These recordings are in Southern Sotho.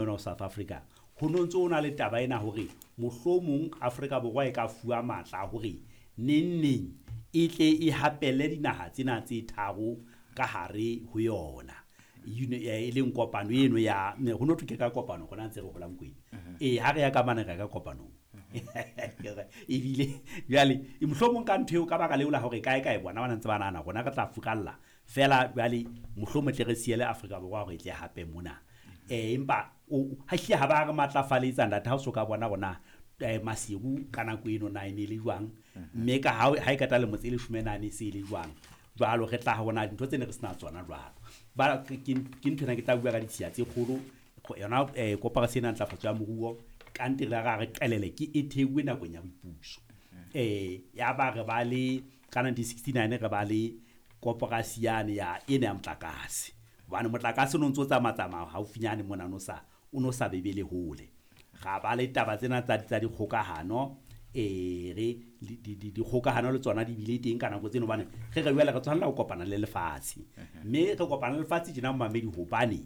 Ona South Africa ho no ntso o na le taba ena hore mohlomong Afrika Borwa e ka fuwa matla a hore neng neng e tle e hapelle dinaha tsena tse tharo ka hare ho yona. E leng kopano eno ya ho no thwe ke ka kopano rona ntse re holang kwena. Ee, ha re ya ka mane re ya ka kopanong. Ebile jwale mohlomong ka ntho eo, ka baka leo la hore kae kae bona ba ntse ba nahana rona re tla furalla feela, jwale mohlomong tle re siele Afrika Borwa hore e tle hape mona. Empa ha hlile ha ba re matlafaletsa ntate, ha o so ka bona rona Maseru ka nako eno na e ne le jwang, mme ka ha e qeta lemo tse 14 e se e le jwang. Jwalo re tla bona dintho tse ne re sena tsona jwalo. Ba ke ntho ena ke tla bua ka ditshiya tse kgolo yona koporasi ena ntlafatso ya moruo kante re ra re qelele ke e theuwe nakong ya boipuso. Ya ba re ba le ka 1969 re ba le koporasi yane ya ena ya motlakase, hobane motlakase o no ntso tsamaya tsamaya haufinyane mona no sa o no sa bebele hole. Ra ba le taba tsena tsa dikgokahano, re dikgokahano le tsona di bile teng ka nako tseno, hobane re re jwale re tshwanela ho kopana le lefatshe, mme re kopana le lefatshe tjena momamedi, hobane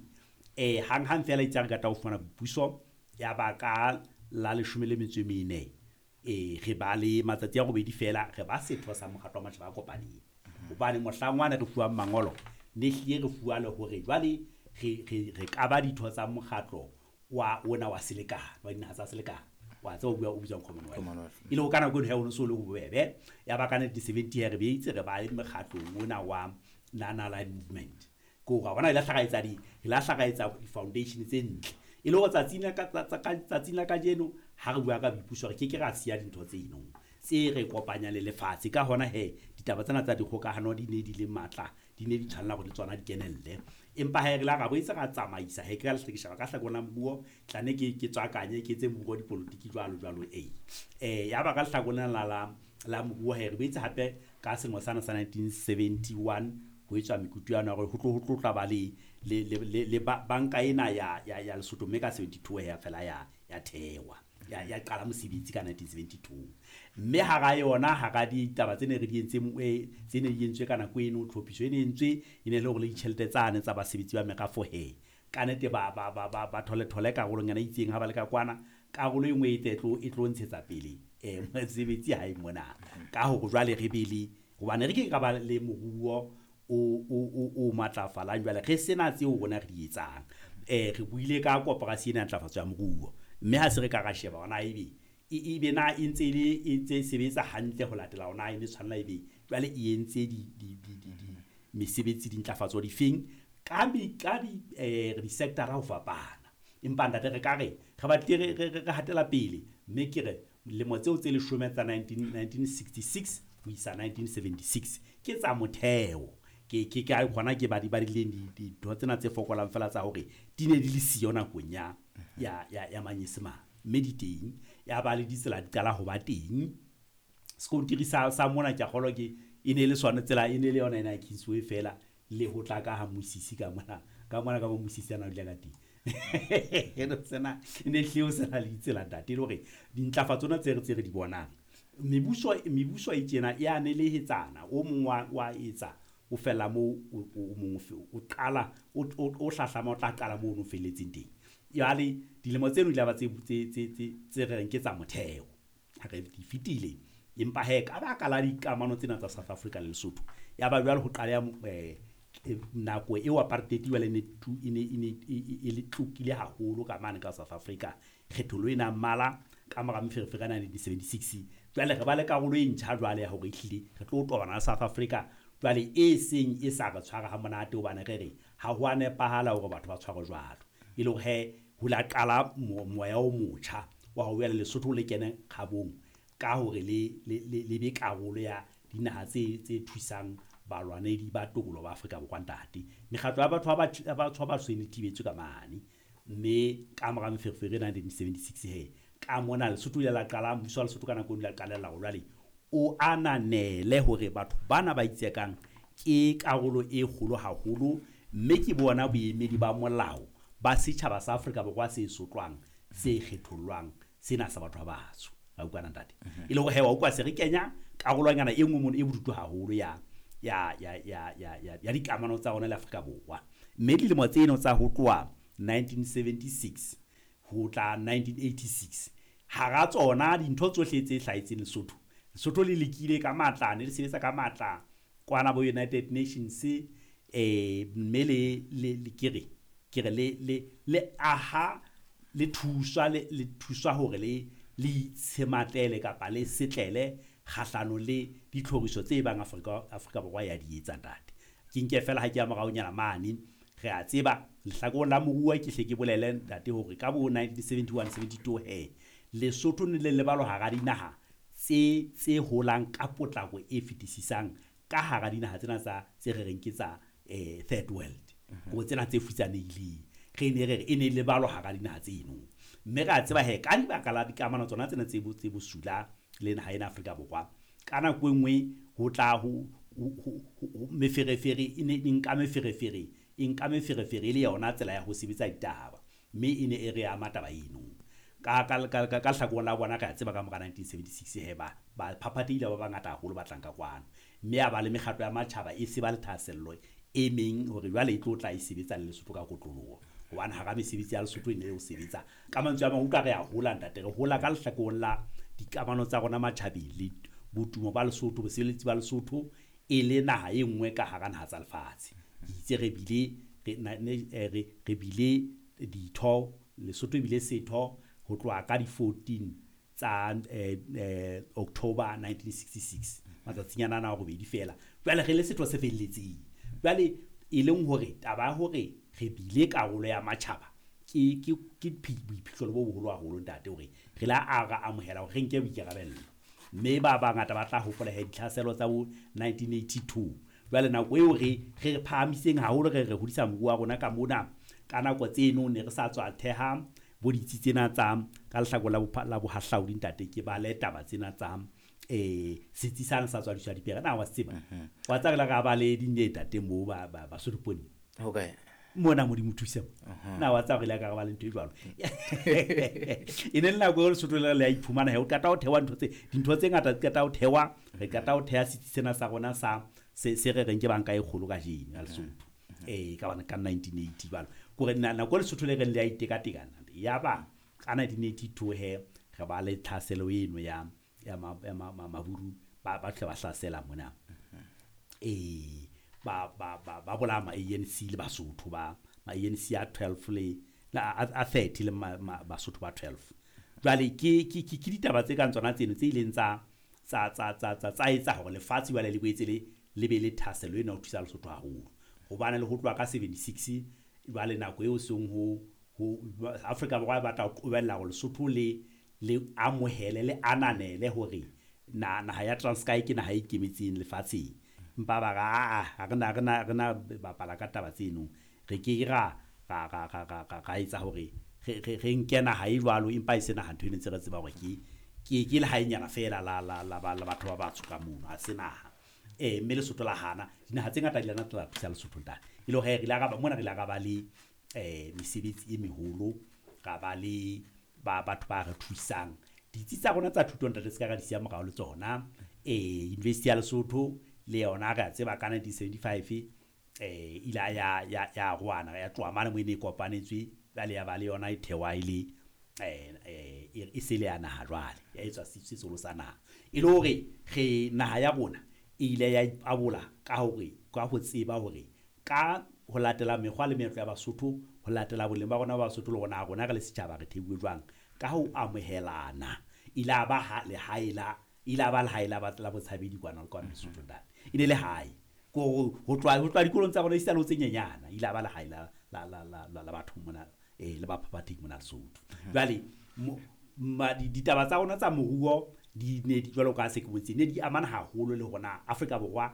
hang hang fela itse re qeta ho fumana boipuso ya ba ka la 14, re ba le matsatsi a robedi fela re ba setho sa mokgatlo wa matjhaba a kopaneng, hobane mohlang wane re fuwang mangolo ne hlile re fuwa le hore jwale re ka ba ditho tsa mokgatlo wa ona wa selekane wa dinaha tsa selekane wa tseba o bua o bitswang Commonwealth. E le ho ka nako eno ha o no so le bobebe. Ya ba ka 1970 re beitse re ba mekgatlong ona wa Non-Aligned Movement. Ko ra bona la hlakaetsa di-foundation tse ntle. E le hore tsatsing la kajeno ha re bua ka boipuso re ke ke ra siya dintho tse eno tse re kopanya le lefatshe. Ka hona he ditaba tsena tsa dikgokahano di ne di le matla, di ne di tshwanela hore le tsona di kenelle. Empa ha re la ra boetse ra tsamaisa he ke ka lehlekeshaba ka hlakoreng la moruo, tla ne ke tswakanye ke etse moruo dipolotiki jwalo jwalo. Ya ba ka lehlakoreng la moruo he re boetse hape ka selemo sana sa 1971 ho etswa mekutu ya hore ho tlo tla ba le banka ena ya Lesotho, mme ka 72 ya fela ya thewa ya qala mosebetsi ka 1972. Mme hara yona hara ditaba tse ne re di entse tse ne di entswe ka nako eno, tlhophiso e ne entswe e ne le hore le ditjhelete tsane tsa basebetsi ba merafo he ka nnete ba thole thole karolonyana e itseng ha ba le ka kwana, karolo e nngwe e tlo ntshetsa pele mosebetsi ha e mona. Ka hore jwale re be le, hobane re ke ka ba le moruo o matlafalang jwale re sena tseo rona re di etsang. Re buile ka koporasi ena ya ntlafatso ya moruo, mme ha se re ka ra sheba hona ebe ebe na e ntse e ntse sebetsa hantle ho latela hona e ne tshwanela ebe jwale e entse di mesebetsi dintlafatso difeng ka di-sector-a ho fapana. Empa ntate re ka re re batlile re hatela pele, mme ke re lemo tseo tse 10 tsa 1966 ho isa 1976 ke tsa motheo. Ke ka hona ke ba di badileng dintho tsena tse fokolang fela tsa hore di ne di le siyo nakong ya manyesemane, mme di teng. Ya ba le ditsela di qala ho ba teng. Sekontiri sa mona ke a kgolwa ke e ne le sona tsela, e ne le yona ena ya Kingsway fela, le ho tla ka ha Musisi ka mona ka mona ka mo Musisi ana o dula ka teng. Eno sena e ne hlile ho sena le ditsela ntate, e le hore dintlafatso tsena tse re di bonang mebuso e tjena e a nelehetsana, o mong wa etsa o fella moo o mong o qala o hlahlama o tla qala moo o felletseng teng. Jwale dilemo tseno di la ba tse re reng ke tsa motheo, ha re di fetile. Empa he ka baka la dikamano tsena tsa South Africa le Lesotho, ya ba jwale ho qala nako eo apartheid jwale ne e le tlokile haholo ka mane ka South Africa, kgethollo ena mmala ka mora meferefere ya 1976. Jwale re ba le karolo e ntjha jwale ya hore ehlile re tlo tobana le South Africa jwale e seng e sa re tshwara ha monate, hobane re re ha ho a nepahala hore batho ba tshwarwe jwalo. E le hore he ho la qala moya o motjha wa hore jwale Lesotho le kene kgabong ka hore le be karolo ya dinaha tse thusang balwanedi ba tokoloho ba Afrika Borwa ntate. Mekgatlo ya batho ba batsho e ne thibetswe ka mane, mme ka mora meferefere 1976 he ka mona Lesotho ile la qala, mmuso wa Lesotho ka nako eo ile la qalella hore jwale o ananele hore batho bana ba itsekang ke karolo e kgolo haholo, mme ke bona boemedi ba molao ba setjhaba sa Afrika Borwa se sotlwang, se kgethollwang, sena sa batho ba batsho. A utlwana ntate? E le hore he wa utlwa se re kenya karolonyana e nngwe mono e bodutu haholo ya dikamano tsa rona le Afrika Borwa. Mme dilemo tseno tsa ho tloha 1976 Ho tla 1986 hara tsona dintho tsohle tse hlahetseng Lesotho, Lesotho le lekile ka matla, ne le sebetsa ka matla kwana bo United Nations, mme le ke re le aha le thuswa le thuswa hore le itshematlele kapa le setlele kgahlano le ditlhoriso tse bang Afrika Borwa ya di etsa, ntate. Ke nke fela ha ke ya moraonyana mane, re a tseba lehlakoreng la moruo, ke hle ke bolele, ntate, hore ka bo 1971 72 he Lesotho ne le lebalwa hara dinaha tse holang ka potlako e fetisisang ka hara dinaha tsena tsa tse re reng ke tsa third world, ko tsena tse futsanehileng. Re ne re re e ne le balwa hara dinaha tseno, mme re a tseba he ka dibaka la dikamano tsona tsena tse bosula le naha ena Afrika Borwa, ka nako e nngwe ho tla ho meferefere, e ne e nka meferefere, e nka meferefere e le yona tsela ya ho sebetsa ditaba, mme e ne e re ama taba eno. Ka hlakoreng la bona, re a tseba ka mora 1976 he ba phaphatheile ba bangata haholo ba tlang ka kwano, mme a ba le mekgatlo ya matjhaba e se ba le thahasello e meng hore jwale e tlo tla e sebetsa le Lesotho ka kotloloho, hobane hara mesebetsi ya Lesotho e ne le ho sebetsa. Ka mantswe a mang, utlwa, re a hola, ntate, re hola ka lehlakoreng la dikamano tsa rona matjhabeng le botumo ba Lesotho, bosebeletsi ba Lesotho e le naha e nngwe ka hara naha tsa lefatshe. Ke itse re bile re bile ditho, Lesotho e bile setho ho tloha ka di-14 tsa October 1966, matsatsing ana a robedi fela jwale re le setho se felletseng. Jwale e leng hore taba ya hore re bile karolo ya matjhaba ke boiphihlelo bo boholo haholo, ntate, hore re la a ra amohela hore re nke boikarabello. Mme ba bangata ba tla hopola he ditlhaselo tsa bo 1982. Jwale nako eo re phahamiseng haholo, re hodisa moruo wa rona ka mona. Ka nako tseno ne re sa tswa theha bo ditsi tsena tsa ka lehlakore la bohahlaudi, ntate. Ke bale taba tsena tsa setsi sane sa tswadiswa dipere na wa tseba wa tsa re la ra ba le dinye, ntate, moo ba Basotho Pony. Okay. Mona Modimo thuse na wa tsa re le ka ba le ntho e jwalo. E ne le nako eo Lesotho le a iphumana he o qeta ho thewa ntho tse dintho tse ngata di qeta ho thewa, re qeta ho theha setsi sena sa rona sa se re reng ke banka e kgolo kajeno ya Lesotho, ka bana ka 1980 jwalo. Kore nako Lesotho le reng le a itekatekana, ya ba ka 1982 he re ba le tlhaselo eno ya maburu, ba tle ba hlasela mona, ba bolaya ma ANC le Basotho ba ma ANC a 12 le a 30 le Basotho ba 12. Jwale ke ditaba tse kang tsona tseno tse ileng tsa etsa hore lefatshe jwale le boetse le be le thahasello ena ho thusa Lesotho haholo, hobane le ho tloha ka 76 jwale nako eo seng ho Afrika Borwa e batla ho qobella hore Lesotho le amohele, le ananele hore na naha ya Transkei ke naha e ikemetseng lefatsheng. Empa ba re aa, ha re na bapala ka taba tseno, re ke ra etsa hore re nke naha e jwalo, empa e se naha. Ntho e ne ntse re tseba hore ke lehaenyana feela la batho ba batsho ka mono, ha se naha. Mme Lesotho la hana. Dinaha tse ngata di lana tla thusa Lesotho, ntate, e le hore re ile ra ba mona, re ile ra ba le mesebetsi e meholo, ra ba le ba batho ba re thusang. Ditsi tsa rona tsa thuto, ntate, se ka ra di siya morao le tsona. University ya Lesotho le yona, re a tseba ka 1975 ile ya roana, ya tloha mane mo e ne e kopanetswe, jwale ya ba le yona e thewa e le e se le ya naha, jwale ya etswa sesolo sa naha. E le hore re naha ya rona e ile ya ipabola ka hore ka ho tseba hore ka ho latela mekgwa le meetlo ya Basotho, ho latela boleng ba rona ba Basotho, le rona rona re le setjhaba re theuwe jwang ka ho amohelana. Ile a ba lehae la ile a ba lehae la botshabedi kwana le kwana Lesotho, ntate. E ne le hae ko ho tloha dikolong tsa rona esita le ho tse nyenyana. Ile a ba lehae la batho mona, le baphaphathehi mona Lesotho. Jwale ditaba tsa rona tsa moruo di ne di jwalo ka se ke botse, ne di amana haholo le hona Afrika Borwa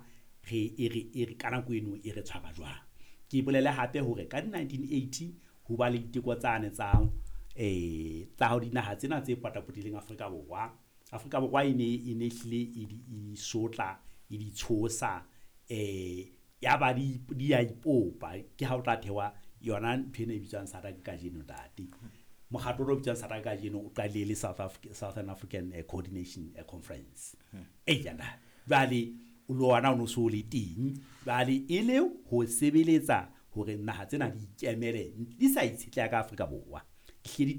re e re e re ka nako eno e re tshwara jwang. Ke bolele hape hore ka di 1980 ho ba le diteko tsane tsa ho dinaha tsena tse potapotileng Afrika Borwa. Afrika Borwa e ne hlile e di sotla, e di tshosa, ya ba di ya ipopa. Ke ha o tla thewa yona ntho ena e bitswang SADC kajeno, ntate. Mokgatlo o bitswang SADC kajeno o qadile le Southern African Coordination Conference e yana. Jwale le ona o no so le teng jwale e le ho sebeletsa hore naha tsena di ikemele, di sa itshetleha ka Afrika Borwa, di hle di